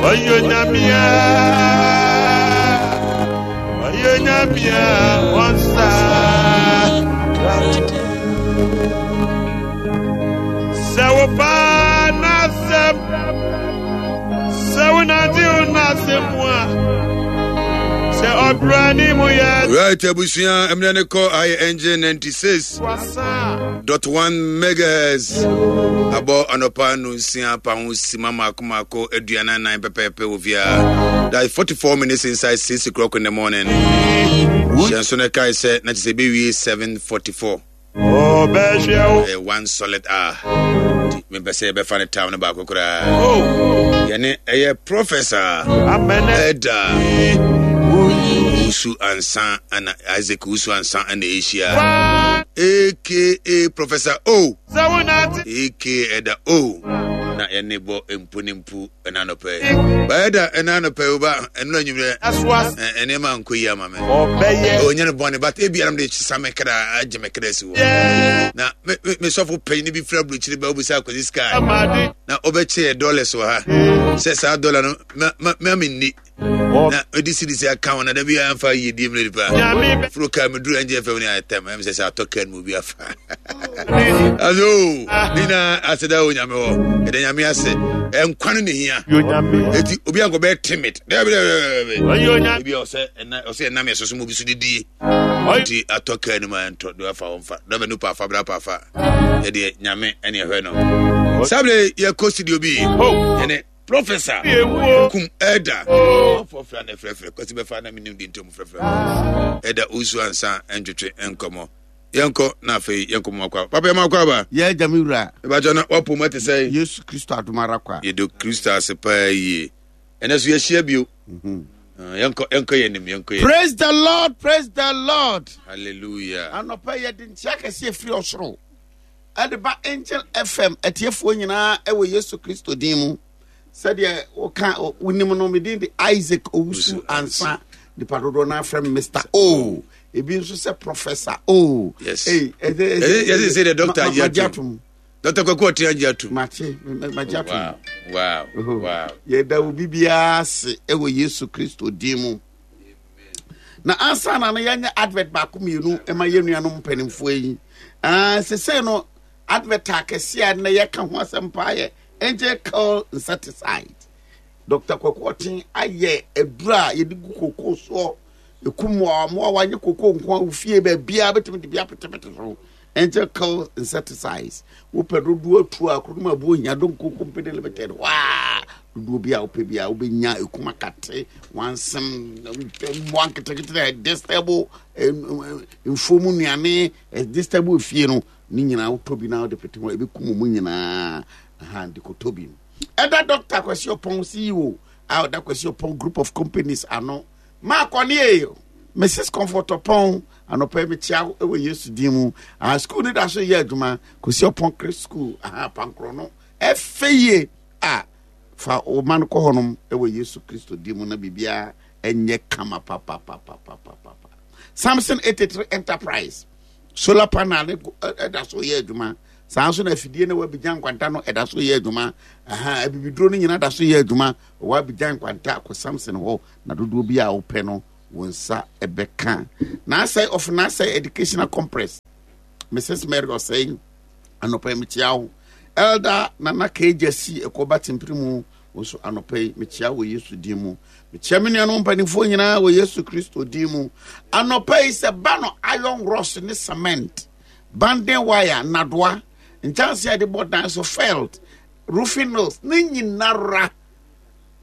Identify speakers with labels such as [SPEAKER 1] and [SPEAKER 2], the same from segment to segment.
[SPEAKER 1] Ɔyɛ Onyame a, ɔyɛ Onyame a ɔnsa. Sɛ wo ba n'asɛm, sɛ wo nante wo n'asɛm mu a, sɛ ɔbra ne mu yɛ.
[SPEAKER 2] Right, abusua, mmerɛ ne kɔ ayɛ engine 96. dot one megahertz abɔ anɔpa no nsia pa ho sima mako mako aduanan nan pɛpɛɛpɛ wɔ fia that is 44 minutes inside 6 o'clock in the morning hyɛ nso no kae sɛ na kyɛ sɛ ɛbɛwie 744 ɛyɛ one solid hour nti mepɛ sɛ yɛbɛfa no tam no baako koraa yɛne ɛyɛ professor ɛda wusu ansa ana Isaac Wusu Ansa na ɛrehyia aka Professor O aka Ɛda O na yɛne bɔ mpo ne mpu ɛna anɔpɛ ba ɛda ɛna anɔpɛ o ba ɛno anwummerɛ nneɛma nkɔ yi ama me ɔnyɛ no bɔne but ebi anam de kyesa me kra agye me kra si hɔ na me me sɔfo panyin bi fira burukyiri ba wobisa akwasi sky na ɔbɛkyɛ yɛ dollars wɔ ha sɛ saa dollar no ma ma ma menni na ɔde sirisi aka ho na da bi amfa yiyedie mmerɛ nipa foro kaa meduru ɛngye fam ne ayɛtɛm ɛm sɛ sɛ atɔ kaa no mu bi afa aso ne nyinaa aseda wɔ nyame hɔ ɛda nyame ase ɛnkwa no ne hia ɛti obi ankɔ bɛyɛ timid daabi daabi ebi ɔsɛ ɛna ɔsɛ ɛnam yɛ soso mu obi so didie nti atɔ kaa no mu a ɛntɔ do afa wɔn fa dɔbɛ no pa afa bra pa afa yɛdeɛ nyame ɛne ɛhwɛ no sábɛ yɛkɔ studio bi yɛne Professor kum elder ɔfɔ fira na frɛfrɛ kwasi bɛfa na menim de ntom frɛfrɛ ɛda osu ansa ntwetwe nkɔmmɔ yɛnkɔ na afei yɛnkɔ mu akɔ papa yɛma akɔ aba
[SPEAKER 3] yɛ agya me wura
[SPEAKER 2] ɛbɛkyɛ na wapo mu ɛte sɛ
[SPEAKER 3] Yesu Kristo adom ara kwa
[SPEAKER 2] yɛdɔ Kristo ase paa yie ɛnɛ so yɛahyia bio mhm. ah, yɛnkɔ yɛnkɔ yɛn nim yɛnkɔ yɛn
[SPEAKER 3] praise the lord praise the lord
[SPEAKER 2] hallelujah
[SPEAKER 3] anɔpa yɛde nkyia kɛseɛ firi ɔsoro ɛde ba Angel FM atiefoɔ nyinaa ɛwɔ Yesu Kristo din mu sɛdeɛ woka wonim no medin de Isaac Owusu Ansa nipa dodoɔ no afrɛ me Mr. O ebi nso sɛ Professor O.
[SPEAKER 2] Yes. Hey, yɛsɛ sɛ deɛ doctor agye atom Dr. Kwaku Ɔte agye atom.
[SPEAKER 3] Mate magye atom.
[SPEAKER 2] Wow wow oh, wow.
[SPEAKER 3] Yɛda obi biara ase ɛwɔ Yesu Kristo din mu. Na ansa na no yɛnyɛ advert baako mmienu ma yɛn nuanom mpanimfoɔ yi. Ah, sesei no advert akɛseɛ a na yɛka ho asɛm paa yɛ angel curl insecticide. Dr. Kwaku Ɔten ayɛ aduro a yɛde gu kokoo soɔ ɛku mmoawa wanyɛ kokoo nko a wofie baabiara bɛtumi de bi apetepete so angel curl insecticides wopɛ dodoɔ atu a koro no ma ɛboɔ hia donko company limited waa dodoɔ bi a wopɛ bi a wobɛnya ɛkum akate wansem mmoa nketenkete a ɛdistɛbo mfuo mu nnuane ɛdistɛbo efie no ne nyinaa wotɔ bi na wode pete ho ɛbɛkum mu nyinaa aha de kɔtɔ bi ɛda dɔkta Kwasi Ɔpɔn CEO a ɔda Kwasi Ɔpɔn group of companies ano maakɔne Mrs Comfort Ɔpɔn anɔpa yi mekyia wo wɔ Yesu din mu ah school no da so yɛ adwuma Kwasi Ɔpɔn Christ school aha pankorɔ no ɛfɛ yie a fa wo ma no kɔ hɔnom wɔ Yesu Kristo din mu na biribiara ɛnyɛ kama papapapapapa Samson 83 Enterprise solar panel ne ɛda so yɛ adwuma saa nso na afidie na wabigya nkwanta no ɛda so yɛ adwuma aha abibiduro no nyinaa da so yɛ adwuma wabigya nkwanta kɔ Samson hɔ na dodoɔ bi a wopɛ no wo nsa bɛka n'asɛe of n'asɛe educational compress mrs mary ɔsɛe anɔpa yi mekyia wo elder nana kagya si ɛkɔba tempere mu wo nso anɔpa yi mekyia wɔ yesu din mu mekyia me nuanom mpanimfoɔ nyinaa wɔ yesu kristo din mu anɔpa yi sɛ ba no iron rods ne cement banding wire nnadoa nkyɛnse a yɛde bɔ dan so felt roofing nails ne nyinara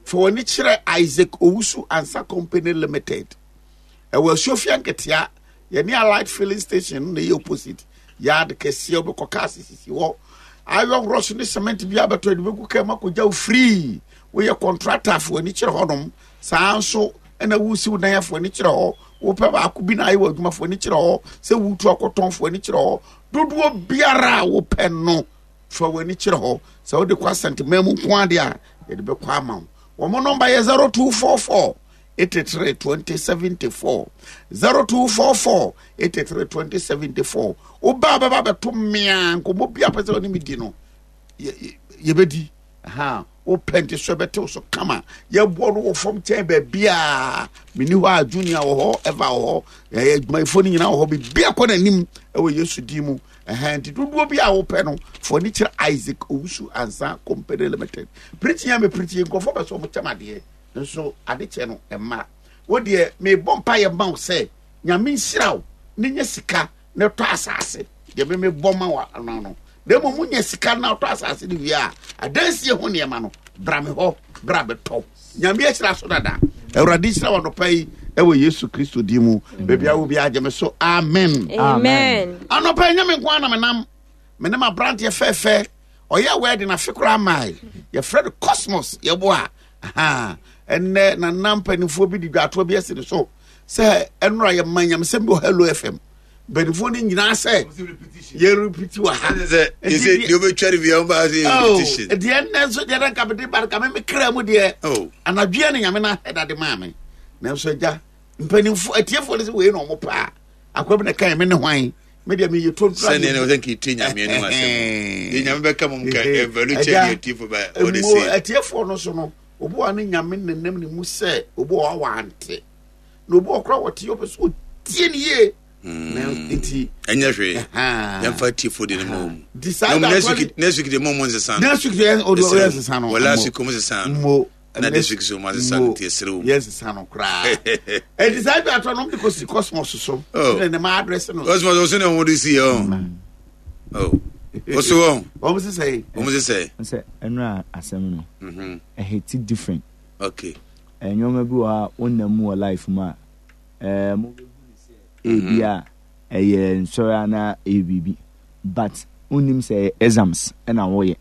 [SPEAKER 3] Fa w'ani kyerɛ Isaac Owusu Ansa Company Limited. Ɛwɔ Asuofia Nketea, yɛne Allied Filling Station no na ɛyɛ opposite. Yard kɛseɛ wobɛkɔ cars sisi hɔ. Iron rods ne cement bi abɛtɔ de bɛgu kaa mu akɔgya wo free. Woyɛ contractor fa w'ani kyerɛ hɔnom. Saa nso ɛna wosi wo dan fa w'ani kyerɛ hɔ. Wopɛ baako bi na ayɛ wɔ adwuma fa w'ani kyerɛ hɔ. Sɛ wotu akɔtɔn fa w'ani kyerɛ hɔ. Dodoɔ biara a wopɛ no fa w'ani kyerɛ hɔ sɛ wode kɔ asɛnteman mu nko ade a yɛde bɛkɔ ama wo wɔn nɔmba yɛ 0244 83 2074 0244 83 Ha wopɛ nti so ɛbɛtew so kama. Yɛboɔ no wɔ fam kyɛn baabiaa. Menni hɔ a Junior wɔ hɔ, Eva wɔ hɔ, ɛyɛ adwumayɛfoɔ no nyinaa wɔ hɔ. Biribi akɔ n'anim ɛwɔ Yesu din mu. Ɛhɛn nti dodoɔ bi a wopɛ no, fo ani kyerɛ Isaac Owusu Ansa Company Limited. Preaching a me preaching nkurɔfoɔ pɛ sɛ wɔn kyɛm adeɛ nso ade kyɛ no ɛmma. Wo deɛ mebɔ mpaeɛ ma wo sɛ Nyame nhyira wo ne nya sika na tɔ asase deɛ me mebɔ ma wo ano no. Na mmom wonya sika na wotɔ asase no wie a, adansie ho nneɛma no, bra me hɔ, bra bɛtɔ. Nyame ahyira so dada. Awurade nhyira wɔ anɔpa yi ɛwɔ Yesu Kristo din mu. Baabi a wo bi agye me so. Amen.
[SPEAKER 4] Amen.
[SPEAKER 3] Anɔpa yi nyɛ me nko ara na menam. Me ne m'aberanteɛ fɛɛfɛ. Ɔyɛ wɛɛde na afe koraa mae. Yɛfrɛ no Cosmos. Yɛboa. Aha. Ɛnnɛ nana mpanimfoɔ bi de dwatoɔ bi asi ne so sɛ ɛnora yɛma nyamesɛm bi wɔ Hello FM. Mpanimfoɔ no nyinaa sɛ yɛrepiti wɔ ha.
[SPEAKER 2] Sɛ deɛ wobɛtwa no bia wobaa sɛ
[SPEAKER 3] Oh,
[SPEAKER 2] repetition.
[SPEAKER 3] deɛ nnɛ nso deɛ na nka mede ba no ka me me kra mu deɛ
[SPEAKER 2] Oh.
[SPEAKER 3] anadwoɛ ne nyame no ahɛda de maa me nanso agya mpanimfoɔ atiefoɔ no sɛ wei na ɔmo paa akoa bi na kae me ne hwan me deɛ meyɛ tontura
[SPEAKER 2] Sɛdeɛ na wɔsɛ nka ɛtie nyame anim asɛm. Deɛ nyame bɛka mom ka ɛvalu kyɛ deɛ atiefo bɛ ɔde se.
[SPEAKER 3] atiefoɔ no so no obi wɔ ne nyame nenam ne mu sɛ obi wɔ hɔ a wante na obi wɔ koraa wɔte ɔpɛ sɛ ɔtie ne yie na nti
[SPEAKER 2] Ɛnyɛ hwee. Yɛmfa atiefo de no ma wɔn.
[SPEAKER 3] nti saa
[SPEAKER 2] Na
[SPEAKER 3] da
[SPEAKER 2] next week next week de mo mo nsesa no.
[SPEAKER 3] next week deɛ ɔde ɔyɛ nsesa no
[SPEAKER 2] Wɔ last week mo nsesa no.
[SPEAKER 3] mo
[SPEAKER 2] Na this week so mo asesa no nti ɛsere wo.
[SPEAKER 3] yɛ nsesa no koraa ɛnti saa dwa atɔ no de kɔsi cosmos so
[SPEAKER 2] Oh.
[SPEAKER 3] ne ne ma address no
[SPEAKER 2] Cosmos ɔso ne wɔn de si yɛ ɔn. Oh. Ɔso wɔn.
[SPEAKER 3] wɔn sesɛ yi
[SPEAKER 2] Wɔn sesɛ.
[SPEAKER 5] Sɛ ɛnora asɛm no ɛhiti different.
[SPEAKER 2] Okay.
[SPEAKER 5] Nneɛma bi wɔ hɔ a wonam mu wɔ life mu a ɛɛ mo bɛhu ne sɛ ebi a ɛyɛ nsɔre anaa ɛyɛ biribi but wonnim sɛ ɛyɛ exams ɛna wɔyɛ.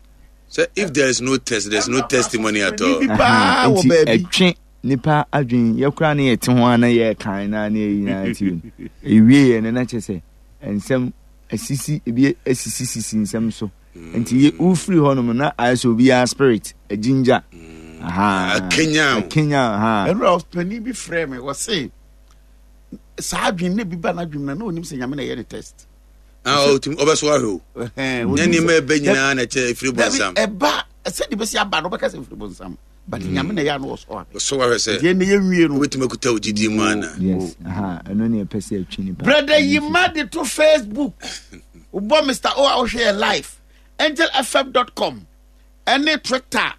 [SPEAKER 2] So if there is no test, there is no testimony at all.
[SPEAKER 3] Bi paa wɔ
[SPEAKER 5] Nti
[SPEAKER 3] baabi.
[SPEAKER 5] ɛtwe nipa adwene yɛ koraa ne yɛte ho a na yɛrekan na ne yɛyi na ti ewie yɛ no na kyerɛ sɛ nsɛm asisi ebi asisi sisi nsɛm so nti yɛ wofiri hɔ nom na ayɛ sɛ obiara spirit agyingya aha
[SPEAKER 2] Akanyan.
[SPEAKER 5] akanyan ha
[SPEAKER 3] ɛnura ɔpanin bi frɛ me wɔse saa adwene ne bi ba n'adwene na na onim sɛ nyame na ɛyɛ ne test
[SPEAKER 2] Ah, ɔtumi ɔbɛso ahwɛ o. Nyɛ nneɛma ɛbɛ nyinaa na ɛkyɛ efiri bɔnsam.
[SPEAKER 3] Ɛba sɛde bɛsi aba no wobɛka sɛ efiri bɔnsam but mm. nyame na ɛyɛ ano wɔsɔ ahwɛ.
[SPEAKER 2] Wɔsɔ ahwɛ sɛ.
[SPEAKER 3] Deɛ ne yɛnwie no.
[SPEAKER 2] Wobɛtumi akuta wo gyidie mu ana.
[SPEAKER 5] Yes, aha, ɛno ne ɛpɛ sɛ ɛtwe nipa.
[SPEAKER 3] Brother Yima de to Facebook. Wobɔ Mr. O a wohwɛ yɛ live. AngelFM.com ɛne Twitter,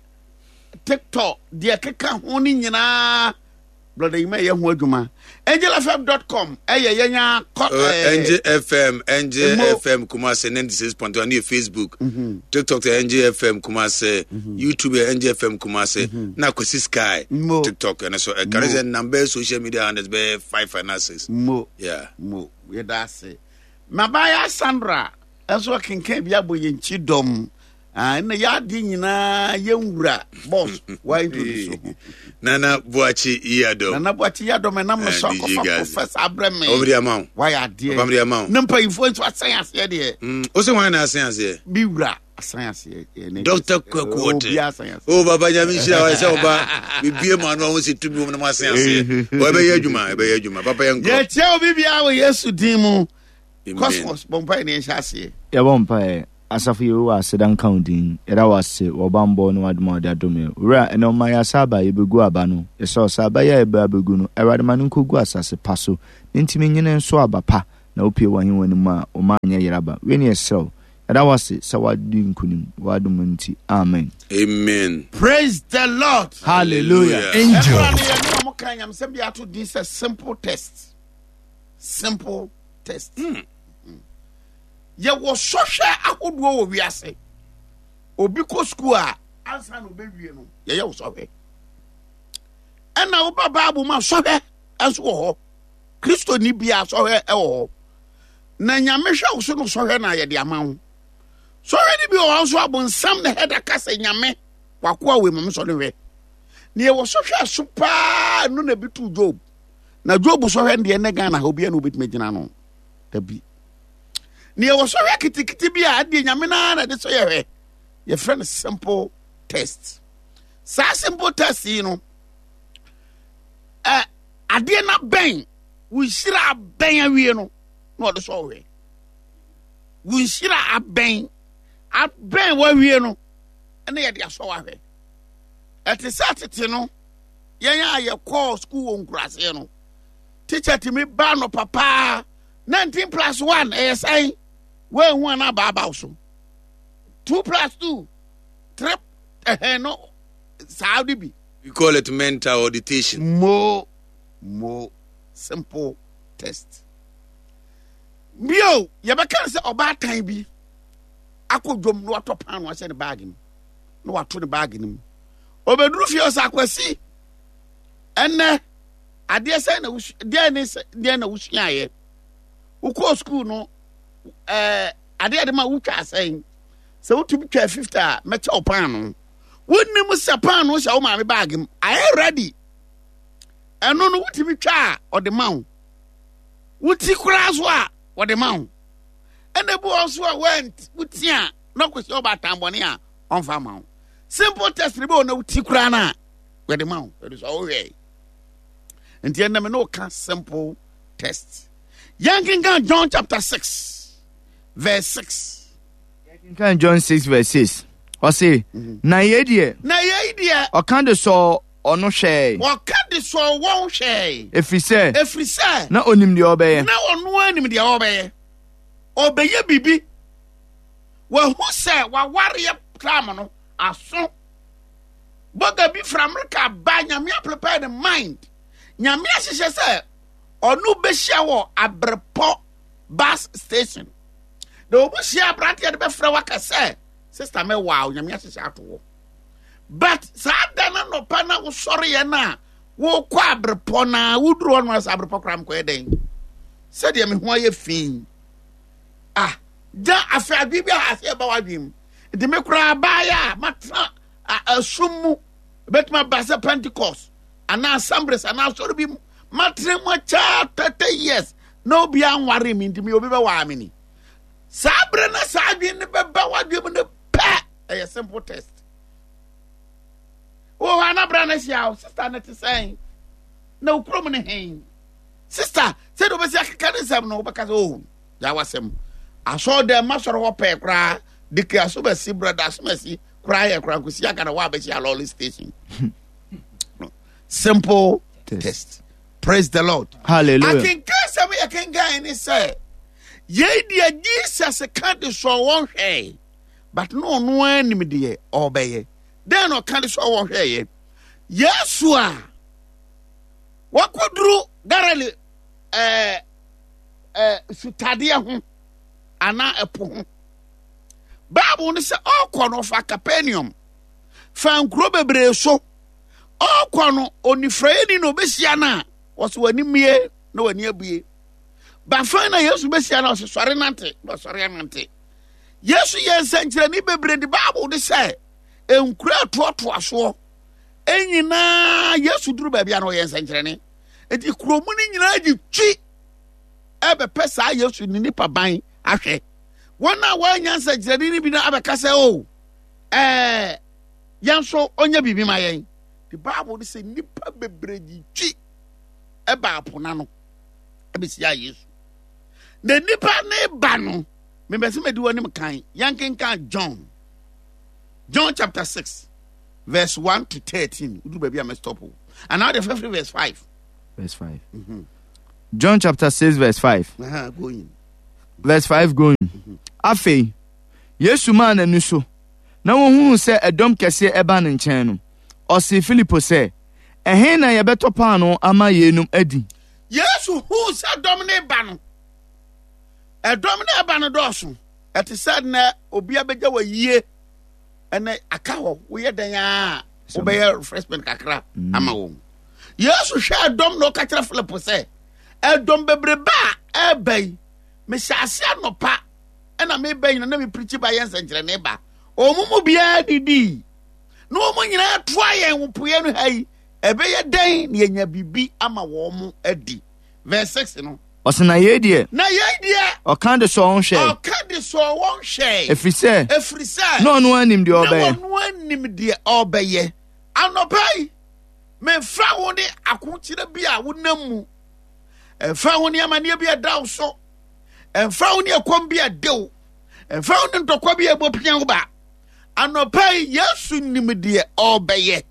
[SPEAKER 3] TikTok, deɛ ɛkeka ho no nyinaa. Brother Yima yɛ ho adwuma. AngelFM.com ɛyɛ yɛn a kɔ.
[SPEAKER 2] Oh, Angel FM, Angel FM Kumasi 96.1 ne yɛ Facebook. Mm-hmm. TikTok yɛ Angel FM Kumasi, mm-hmm. YouTube yɛ Angel FM Kumasi, mm-hmm. na Kwesi Sky TikTok ɛno so ɛka ne sɛ number social media handles bɛyɛ 5 and 6.
[SPEAKER 3] Mo.
[SPEAKER 2] Yeah.
[SPEAKER 3] Mo. Yɛda ase. Mabaya Sandra nso akenkan bi abɔ yɛn kyi dɔm. Ah, ɛnna yɛ adeɛ nyinaa yɛn wura boss wa introduce ho.
[SPEAKER 2] Nana Boakye Yiadom.
[SPEAKER 3] Nana Boakye Yiadom ɛnam no so
[SPEAKER 2] eh,
[SPEAKER 3] akɔfa professor abrɛ me.
[SPEAKER 2] Ɔmde ama wo.
[SPEAKER 3] Wayɛ adeɛ.
[SPEAKER 2] Ɔmde ama wo.
[SPEAKER 3] Ne mpanyinfoɔ nso asan aseɛ deɛ.
[SPEAKER 2] Mm, o sɛ wɔn na asan aseɛ.
[SPEAKER 3] Bi wura asan aseɛ.
[SPEAKER 2] Dr. Kwaku Ɔte. O baba nyame nhyira wa sɛ ɔba bibie mu ano a wɔn si tumi wɔn na mo asan aseɛ. Ɔbɛyɛ adwuma ɛbɛyɛ adwuma papa yɛn nkɔ.
[SPEAKER 3] Yɛkyɛ obi biara wɔ Yesu din mu. Cosmos bɔ mpaeɛ na yɛnhyɛ aseɛ.
[SPEAKER 5] Yɛbɔ mpaeɛ. Asafo Yehowa aseda nka wo din. Yɛda wo ase wɔ ɔbammɔ ne w'adom a wode adom yɛn. Owura, ɛnnɛ woma yɛn asa aba a yɛbɛgu aba no. Yɛsrɛ wo sɛ aba yi a yɛbɛ abɛgu no, Awurade ma no nkɔgu asase pa so, na ntumi nyene nso aba pa, na wopue w'ahennwa no mu a, wo mma anyɛ yeraba. Wei ne yɛsrɛ wo. Yɛda wo ase sɛ woadi nkonim, w'adom nti. Amen.
[SPEAKER 2] Amen.
[SPEAKER 3] Praise the Lord.
[SPEAKER 5] Hallelujah.
[SPEAKER 6] Angel.
[SPEAKER 3] Ɛnora no yɛne wɔn kan nyamesɛm bi ato din sɛ simple test. Simple test. Mm. Yɛwɔ sɔhwɛ ahodoɔ wɔ wiase. Obi kɔ sukuu a ansa na ɔbɛwie no yɛyɛ wo sɔhwɛ. Ɛna woba Bible mu a sɔhwɛ nso wɔ hɔ. Kristoni biara sɔhwɛ wɔ hɔ. Na Nyame hwɛ wo so no sɔhwɛ na yɛde ama wo. Sɔhwɛ no bi wɔ hɔ nso abonsam na hɛda ka sɛ Nyame wakoa wei ma me sɔ no hwɛ. Na yɛwɔ sɔhwɛ ɛso paa no na bi too Job. Na Job sɔhwɛ no deɛ ɛnɛ Ghana ha obiara na obɛtumi agyina no. Dabi. Na yɛwɔ sɔhwɛ kitikiti bi a ɛdeɛ Nyame no ara na ɛde sɔ yɛhwɛ. Yɛfrɛ no simple test. Saa simple test yi no, ɛ adeɛ no abɛn wo nhyira abɛn awie no na ɔde sɔ hwɛ. Wo nhyira abɛn abɛn wawie no. na yɛde asɔ wahwɛ. Ɛte sɛ tete no, yɛn a yɛkɔɔ sukuu wɔ nkuraseɛ no, tikya tumi ba no papaa 19 plus 1 ɛyɛ sɛn? Woanhu ana abaabaw so. 2 plus 2, 3 ɛhɛn no saa de bi.
[SPEAKER 2] We call it mental auditation.
[SPEAKER 3] Mo mo simple test. Bio, yɛbɛka no sɛ ɔbaatan bi akɔ dwom na watɔ paano ahyɛ ne baage mu na wato ne baage no mu. Ɔbɛduru fie ɔsɛ akwasi ɛnɛ adeɛ sɛn na wosua deɛ ne deɛ na wosuaeɛ wokɔɔ sukuu no ɛɛ adeɛ de ma wotwa asɛn sɛ wotumi twa 50 a mɛkyɛ wo paano. Wonim sɛ paano hyɛ wo maame baage mu ayɛ ready ɛno no wotumi twa a ɔde ma wo woti koraa so a wɔde ma wo ɛna ebi wɔ so a woti a na ɔkɔsi ɔba atambɔne a ɔmfa ma wo simple test ne bi wɔ na woti koraa no a wɔde ma wo ɛde so ɔwohwɛ nti ɛnna me ne woka simple test yɛnkenkan John chapter 6 verse 6
[SPEAKER 5] yɛnkenkan John 6 verse 6 ɔse mhm. na yei deɛ
[SPEAKER 3] na yei deɛ
[SPEAKER 5] ɔka de sɔɔ ɔno hwɛe.
[SPEAKER 3] Ɔka de sɔɔ wɔn hwɛe.
[SPEAKER 5] Ɛfiri sɛ.
[SPEAKER 3] Ɛfiri sɛ.
[SPEAKER 5] Na ɔnim deɛ ɔbɛyɛ.
[SPEAKER 3] Na ɔno ara nim deɛ ɔbɛyɛ. Ɔbɛyɛ biribi. Wahu sɛ wawareɛ tam no aso. Bɔga bi firi Amerika ba Nyame aprepare ne mind. Nyame ahyehyɛ sɛ ɔno bɛhyia wɔ Abrepɔ bus station. Na wɔn hyia aberanteɛ de bɛfrɛ waka sɛ sister mɛwaa Nyame ahyehyɛ ato hɔ. But saa da no anɔpa na wosɔreɛ no a wokɔ abrepɔ no a woduru hɔ no sɛ abrepɔ koraa mekɔyɛ dɛn sɛdeɛ me ho ayɛ fi ah gya afei adwene bi a asɛ ɛba w'adwene mu nti me koraa baayɛ a matena asum mu ɛbɛtumi aba sɛ Pentecost anaa Assemblies anaa asɔre bi mu matena mu akyɛ 30 years na obi anware me nti me obi bɛwaa me ni saa berɛ na saa adwene no bɛba w'adwene mu no pɛ ɛyɛ simple test wɔ hɔ ana bra no ahyia wo sister no te sɛn na wo kurom no hen sister sɛdeɛ wobɛsi akeka ne nsɛm no wobɛka sɛ oh gya wasɛm asɔre dɛm masɔre hɔ pɛɛ koraa de kra so bɛsi brada so bɛsi koraa yɛ koraa nkosi aka na woabɛhyia lɔle station simple test. test praise the lord
[SPEAKER 5] hallelujah
[SPEAKER 3] akenkan sɛm yɛ kenkan ne sɛ yei deɛ jesus ka de sɔ wɔn hwɛe But na ɔno ara nim deɛ ɔrebɛyɛ. Dɛn na ɔka de sɛ ɔhwɛeɛ? Yesu a wakɔduru Galilee ɛɛ ɛɛ sutadeɛ ho anaa ɛpo ho. Bible no sɛ ɔrekɔ no ɔfa Capernaum fa nkuro bebree so. Ɔrekɔ no onifuraeni na ɔbɛhyia no a ɔsɛ w'ani mmue na w'ani abue. Bafan na Yesu bɛhyia no ɔsɛ sɔre nante na ɔsɔre anante. Yesu yɛ nsɛnkyerɛnne bebree de Bible de sɛ nkura ɛtoatoa soɔ nyinaa Yesu duru baabi a na ɔyɛ nsɛnkyerɛnne. Nti kurom no nyinaa gye twi ɛbɛpɛ saa Yesu ne nipa ban ahwɛ. Wɔn a wɔanya nsɛnkyerɛnne no bi no abɛka sɛ o oh, ɛɛ yɛn nso ɔnyɛ biribi ma yɛn. The Bible de sɛ nipa bebree gye twi ɛba apo n'ano ɛbɛsia Yesu. Na nipa ne ba no mepɛ sɛ medi w'anim kan yɛnkenkan John John chapter 6 verse 1 to 13 woduru baabi a mɛstop o anaa wode fɛfiri verse 5
[SPEAKER 5] verse 5 mm -hmm. John chapter 6 verse 5
[SPEAKER 3] uh -huh, going.
[SPEAKER 5] verse 5 going mm -hmm. afei Yesu maa n'ani so na wɔhunuu sɛ ɛdɔm kɛseɛ ɛba ne nkyɛn no ɔsee Filipo sɛ ɛhe na yɛbɛtɔ paanoo ama yeinom adi
[SPEAKER 3] Yesu huu sɛ dɔm no ba no Ɛdɔm no ɛba no dɔɔso. Ɛte sɛ nnɛ obi abɛgya wɔ yie ɛnɛ aka hɔ woyɛ dɛn a wobɛyɛ refreshment kakra mm. ama wɔn. Yesu hwɛ ɛdɔm na ɔka kyerɛ Philip sɛ ɛdɔm bebrebe a ɛreba yi mehyɛ ase anɔpa ɛna meba nyina na mepirikyi ba yɛ nsɛnkyerɛnne ba wɔn mu biara didii na wɔn nyinaa toa yɛn wɔ poeɛ no ha yi ɛbɛyɛ dɛn na yɛnya biribi ama wɔn adi verse 6 no
[SPEAKER 5] Ɔse na yei deɛ.
[SPEAKER 3] Na yei deɛ.
[SPEAKER 5] Ɔka de sɔɔ wɔn hwɛe.
[SPEAKER 3] Ɔka de sɔɔ wɔn hwɛe.
[SPEAKER 5] Ɛfiri sɛ.
[SPEAKER 3] Ɛfiri sɛ.
[SPEAKER 5] Na ɔno ara nim deɛ ɔrebɛyɛ.
[SPEAKER 3] Na ɔno ara nim deɛ ɔrebɛyɛ. Anɔpa yi, memfa wo ne akokyerɛ bi a wonam mu. Ɛmfa wo ne amanneɛ bi a ɛda wo so. Ɛmfa wo ne ɛkɔm bi a ɛde wo. Ɛmfa wo ne ntɔkwa bi a ɛbɔ pia wo ba. Anɔpa yi, Yesu nim deɛ ɔrebɛyɛ.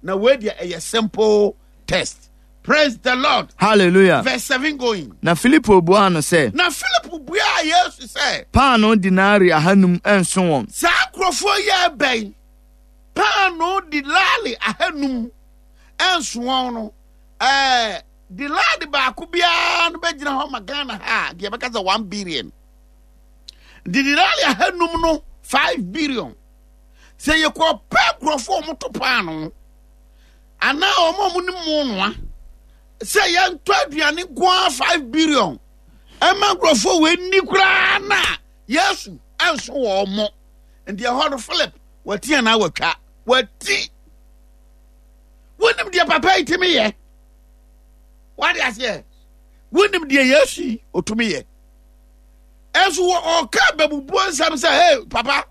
[SPEAKER 3] Na wei deɛ ɛyɛ simple test. Praise the Lord.
[SPEAKER 5] Hallelujah.
[SPEAKER 3] Verse 7 going.
[SPEAKER 5] Na Filipo buaa no sɛ.
[SPEAKER 3] Na Filipo buaa Yesu sɛ.
[SPEAKER 5] Paanoo denari ahanum nso wɔn.
[SPEAKER 3] Saa nkurɔfoɔ yi ɛbɛn paanoo denari ahanum nso wɔn no ɛɛ denari baako biara no bɛgyina hɔ ma Ghana ha a deɛ bɛka sɛ 1 billion. Denari ahanum no 5 billion. Sɛ yɛkɔ pɛ nkurɔfoɔ a wɔto paanoo anaa wɔn a wɔnim mo noa sɛ yɛntɔ aduane nko ara 5 billion ɛma nkurɔfoɔ wɔ ani koraa na Yesu ɛnso wɔn mo. Nti ɛhɔ no Philip wati anaa watwa wati. Wonim deɛ papa yi tumi yɛ, wade aseɛ, wonim deɛ Yesu yi otumi yɛ. Ɛnso wɔ ɔka bɛbubuo nsɛm sɛ, hey papa,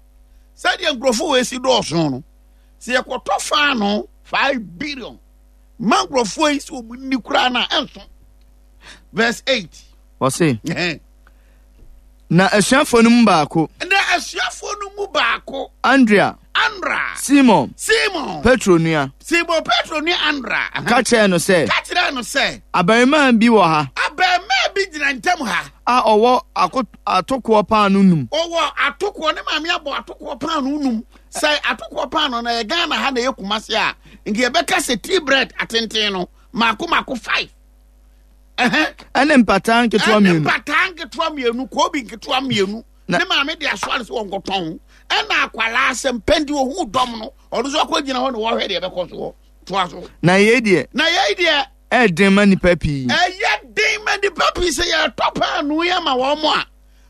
[SPEAKER 3] sɛdeɛ nkurɔfoɔ wɔ esi dɔɔso no, sɛ yɛkɔtɔ faano 5 billion ma nkurɔfoɔ yi sɛ wɔn ni koraa na ɛnso. Verse 8.
[SPEAKER 5] Ɔse. Na asuafoɔ no mu baako.
[SPEAKER 3] Na asuafoɔ no mu baako.
[SPEAKER 5] Andrea.
[SPEAKER 3] Andra.
[SPEAKER 5] Simon.
[SPEAKER 3] Simon.
[SPEAKER 5] Petro nua.
[SPEAKER 3] Simon Petro nua Andra.
[SPEAKER 5] Ka kyerɛɛ no sɛ.
[SPEAKER 3] Ka kyerɛɛ no sɛ.
[SPEAKER 5] Abarimaa bi wɔ ha.
[SPEAKER 3] Abarimaa bi gyina ntam ha.
[SPEAKER 5] A ɔwɔ atokoɔ paano num.
[SPEAKER 3] Ɔwɔ atokoɔ, ne maame abɔ atokoɔ paano num. Sɛ atokoɔ paano na yɛ Ghana ha na yɛ Kumasi a, nka yɛbɛka sɛ tea bread atenten no mako mako five.
[SPEAKER 5] Ɛne mpataa nketewa mmienu.
[SPEAKER 3] Ɛne mpataa nketewa mmienu, koobi nketewa mmienu. Ne maame de asoa no sɛ wɔnkɔtɔn. Ɛna akwalaa sɛ mpɛn di ohun dɔm no, ɔno nso akɔ gyina hɔ na wɔhwɛ deɛ ɛbɛkɔ soɔ. Toa so.
[SPEAKER 5] Na yei deɛ.
[SPEAKER 3] Na yei deɛ.
[SPEAKER 5] Ɛyɛ den ma nnipa pii.
[SPEAKER 3] Ɛyɛ den ma nnipa pii sɛ yɛtɔ paanoo yi ama wɔn a,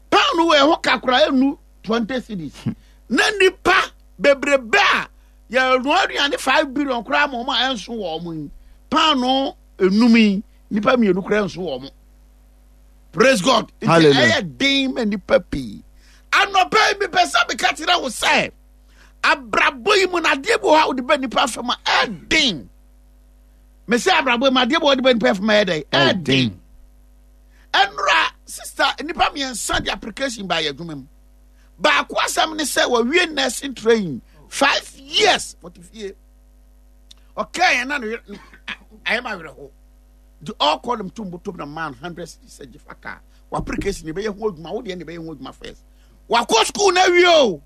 [SPEAKER 3] paanoo wɔ ɛho kakra enu 20 cedis. Na nnipa bebrebe a yɛnoa aduane 5 billion koraa ma wɔn a ɛnso wɔn yi, paanoo enum yi nipa mmienu koraa nso wɔn. Praise God. Nti ɛyɛ den ma nipa pii. Anɔpa yi mepɛ sɛ meka kyerɛ wo sɛ abrabɔ yi mu na adeɛ bi wɔ hɔ a wode bɛ nipa fam a ɛden. Mese abrabɔ yi mu adeɛ bi wɔ wode bɛ nipa fam a ɛyɛ dɛn? Ɛden. Ɛnora sister, nipa mmiɛnsa de application ba yɛ adwuma mu. Baako asɛm ne sɛ wɔwie nursing training 5 years, wɔte fie. Ɔkaa yɛn na no ayɛ ma awerɛho nti ɔkɔ nom tom botom na man 100 cedis sɛ gyefa kaa w'application ne ɛbɛyɛ ho adwuma, wo deɛ ne ɛbɛyɛ ho adwuma first. Wakɔ school na awie o,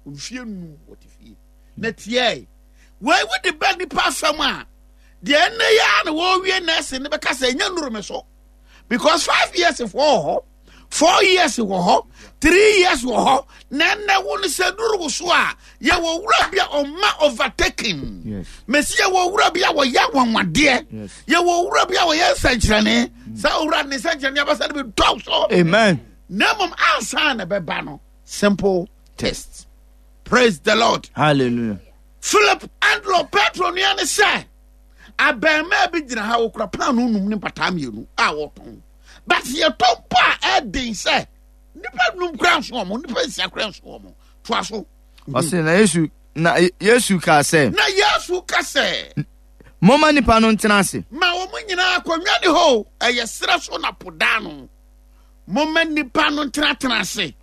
[SPEAKER 3] mfie 5 wɔte fie na tiɛ. Wei wode bɛ nipa fam a, deɛ ɛnɛ yɛ a na wɔwie nursing ne bɛka sɛ ɛnyɛ nnuru me so because 5 years foɔ wɔ hɔ, 4 years wɔ hɔ, 3 years wɔ hɔ. Na ɛnɛ wo no sɛ duru wo so a, yɛwɔ wura bi a ɔma overtaking. Mesi yɛwɔ wura bi a wɔyɛ anwanwadeɛ. Yɛwɔ wura bi a wɔyɛ nsɛnkyerɛnne. Saa owura ne nsɛnkyerɛnne abasa no bi dɔw so.
[SPEAKER 5] Amen.
[SPEAKER 3] Na mmom ansa na ɛbɛba no, simple test. Praise the Lord.
[SPEAKER 5] Hallelujah.
[SPEAKER 3] Philip Andrew Petro nua ne sɛ abɛɛmaa bi gyina ha, wɔkura paano num ne mpataa mmienu a wɔtɔn, but yɛtɔ mpo a ɛden sɛ nipa num kura nso wɔn, nipa 6 kura nso wɔn. Toa so.
[SPEAKER 5] Ɔse na Yesu kaa sɛ.
[SPEAKER 3] Na Yesu ka sɛ.
[SPEAKER 5] Momma nipa no ntena ase.
[SPEAKER 3] Ma wɔn nyinaa akonnwa ne hɔ, ɛyɛ serɛ so na po daa no. Momma nipa no ntenatena ase.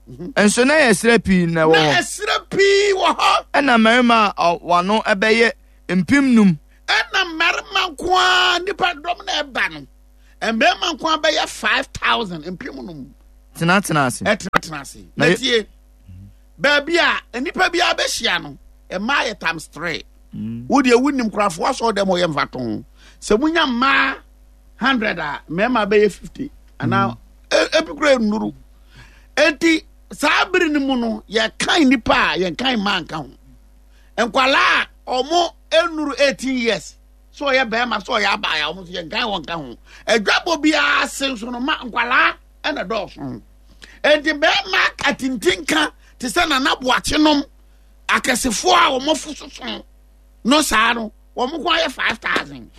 [SPEAKER 5] Nso na yɛ serɛ pii na ɛwɔ
[SPEAKER 3] hɔ. Na ɛserɛ pii wɔ hɔ.
[SPEAKER 5] Ɛna mmarima a wano ɛbɛyɛ 5,000.
[SPEAKER 3] Ɛna mmarima nko ara, nipa dɔm na ɛba no, mmarima nko ara bɛyɛ 5,000, 5,000.
[SPEAKER 5] Tenatena ase.
[SPEAKER 3] Ɛtenatena ase. Na tie, baabi a nipa bi abɛhyia no, mmaa yɛ times three. Wo deɛ wonim korafoɔ asɔ dɛm ɔyɛ mfa to ho sɛ munya mmaa 100 a, mmarima bɛyɛ 50 anaa ebi kura nnuru. Eti saa bere no mu no, yɛkan nipa a yɛnkan mmaa nka ho, nkwalaa a ɔmo nnuru 18 years, sɛ ɔyɛ bɛrima sɛ ɔyɛ abaayewa, ɔmo nso yɛnkan wɔn ka ho. Adwabɔ biara ase nso no, ma nkwalaa ɛna dɔɔso. Enti bɛrima atintinka te sɛ Nana Boakye nom akɛsefoɔ a wɔn afo soso no saa no, wɔn ko ayɛ 5,000.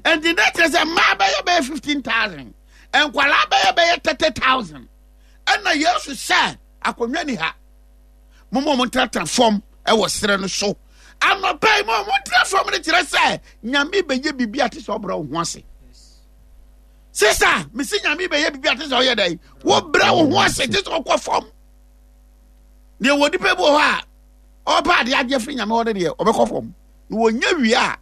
[SPEAKER 3] Enti ne kyerɛ sɛ mmaa bɛyɛ 15,000, nkwalaa bɛyɛ 30,000. Ɛna Yesu sɛ akonnwa ni ha, mo ma wɔn ntenatena fam ɛwɔ serɛ no so. Anɔpa yi, mo wɔn ntena fam no kyerɛ sɛ Nyame bɛyɛ biribi a te sɛ ɔbrɛ wo ho ase. Sisa mesi Nyame bɛyɛ biribi a te sɛ ɔyɛ dɛ wobrɛ wo ho ase, te sɛ ɔkɔ fam. Deɛ wɔ nipa bi wɔ hɔ a Ɔpɛ adeɛ agye afiri Nyame hɔ no deɛ, ɔbɛkɔ fam. Na wɔnya wie a,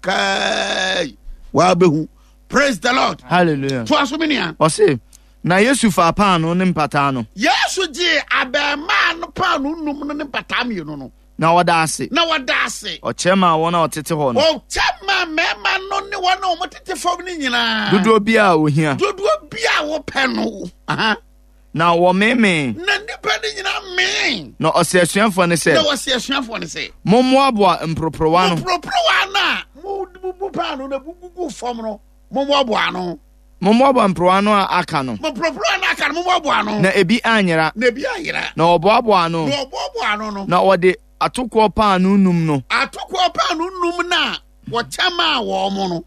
[SPEAKER 3] kai, wabɛhu. Praise the Lord.
[SPEAKER 5] Hallelujah.
[SPEAKER 3] Toa so, me nua.
[SPEAKER 5] Ɔse, na Yesu faa paanoo ne mpataa no.
[SPEAKER 3] Yesu gyee abarimaa no paanoo num no ne mpataa mmienu no.
[SPEAKER 5] Na ɔda ase.
[SPEAKER 3] Na ɔda ase.
[SPEAKER 5] Ɔkyɛ maa wɔn a wɔtete hɔ no.
[SPEAKER 3] Ɔkyɛ maa mmarima no ne wɔn a wɔtete fam no nyinaa.
[SPEAKER 5] Dodoɔ biara a wɔhia.
[SPEAKER 3] Dodoɔ biara a wɔpɛ no. Aha.
[SPEAKER 5] Na wɔmeemee.
[SPEAKER 3] Na nnipa no nyinaa mee.
[SPEAKER 5] Na ɔse asuafoɔ no sɛ.
[SPEAKER 3] Na ɔse asuafoɔ no sɛ.
[SPEAKER 5] Mommoaboa mporoporowa no.
[SPEAKER 3] Mporoporowa no a mobubu paanoo na egugu fam no, mommoaboa ano.
[SPEAKER 5] Mommoaboa mporoporowa no a aka no.
[SPEAKER 3] Mporoporowa no aka no, mommoaboa ano.
[SPEAKER 5] Na ebi anyera.
[SPEAKER 3] Na ebi anyera.
[SPEAKER 5] Na wɔboaboa ano.
[SPEAKER 3] Na wɔboaboa ano no.
[SPEAKER 5] Na wɔde atokoɔ paanoo num no.
[SPEAKER 3] Atokoɔ paanoo num no a wɔkyɛ maa wɔn no.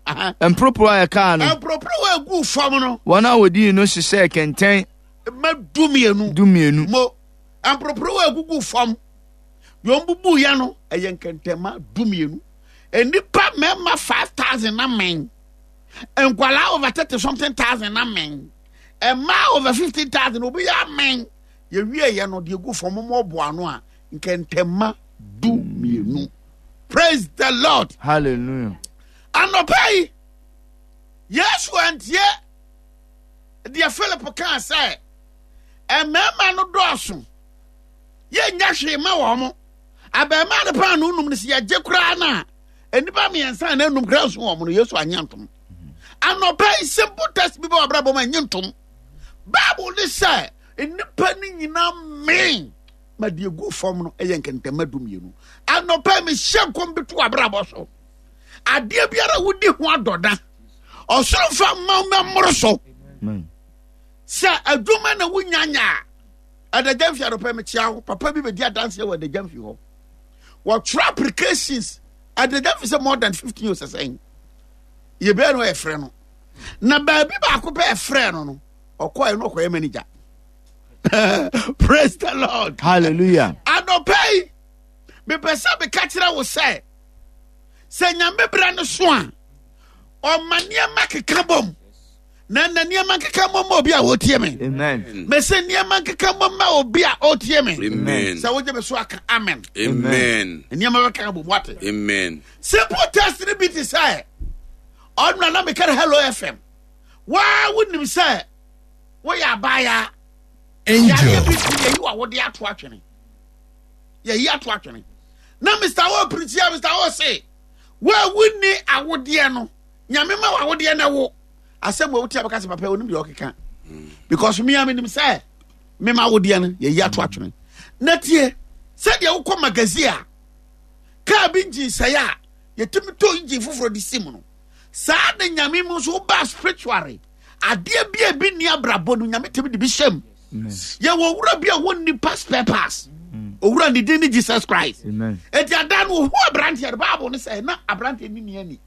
[SPEAKER 5] Mporoporowa a ɛkaa no.
[SPEAKER 3] Mporoporowa a eguu fam no.
[SPEAKER 5] Wɔn a wɔdii no hyehyɛɛ kɛntɛn.
[SPEAKER 3] Mma dumienu.
[SPEAKER 5] Dumienu.
[SPEAKER 3] Mo mporoporowa a egugu fam. Deɛ wɔbubuiɛ no, ɛyɛ nkɛntɛmma dumienu. Nnipa mmarima 5,000 na mɛn. Nkwalaa over 30 something thousand na mɛn. Mmaa over 15,000 obi yɛ amɛn. Yɛwie yɛ no deɛ egu fam mo ɔboa ano a nkɛntɛmma dumienu. Praise the Lord.
[SPEAKER 5] Hallelujah.
[SPEAKER 3] Anɔpa yi, Yesu antie deɛ Philip kaa sɛ mmarima no dɔɔso yɛnnya hwee ma wɔn mo. Abarimaa no paanoo num no sɛ yɛgye koraa no a nnipa mmiɛnsa na enum koraa nso wɔn no Yesu anye ntom. Anɔpa yi simple test bi bɛ wɔ abrabɔ mu nye ntom. Bible ne sɛ nnipa no nyinaa mee ma deɛ gu fam no yɛ nkɛntɛmma dumienu. Anɔpa yi mehyɛ nkɔm bi to abrabɔ so. Adeɛ biara wodi ho adɔda. Ɔsoro mfa mma wo mmoro so. Sɛ adwuma na wonya nya a, Adagya mfi anɔpa mekyia wo. Papa bi bɛdi adanseɛ wɔ Adagya mfi hɔ. Wɔtwerɛ applications Adagya mfi sɛ more than 15 years sɛn. Yɛbɛɛ no ɛfrɛ no. Na baabi baako pɛ ɛfrɛ no no, ɔkɔɛ no ɔkɔyɛ manager. Praise the Lord.
[SPEAKER 5] Hallelujah.
[SPEAKER 3] Anɔpa yi, mepɛ sɛ meka kyerɛ wo sɛ, sɛ Nyame berɛ no so a, ɔma nneɛma keka bom. Na na nneɛma nkeka mmɔ ma obi a ɔtie me.
[SPEAKER 5] Amen.
[SPEAKER 3] Mese nneɛma nkeka mmɔ ma obi a ɔtie me.
[SPEAKER 2] Amen.
[SPEAKER 3] Sɛ wogye me so aka amen.
[SPEAKER 2] Amen.
[SPEAKER 3] Nneɛma bɛka bom wate.
[SPEAKER 2] Amen.
[SPEAKER 3] Simple test no bi te sɛ ɔno na meka no Hello FM. Waa wonim sɛ woyɛ abaayaa.
[SPEAKER 4] Angel.
[SPEAKER 3] Yadeɛ bi ti yɛyi wa wode ato atwene. Yɛyi ato atwene. Na Mr. O pirikyia Mr. O se wo a wonni awodeɛ no nyame ma wawodeɛ na wo asɛm wɔ wote a bɛka sɛ papa onim deɛ ɔkeka because me a menim sɛ mema wodeɛ no yɛyi ato atwene na tie sɛdeɛ wokɔ magazine a kaa bi engine sɛe a yɛtumi tɔ engine foforɔ de si mu no saa na nyame mu nso wobaa spiritually adeɛ bi a ebi nni abrabɔ no nyame tumi de bi hyɛ mu yɛwɔ owura bi a wɔnni pass spare pass owura ne din ne jesus christ eti ada no ohu aberanteɛ no bible no sɛ na aberanteɛ ne ni ani.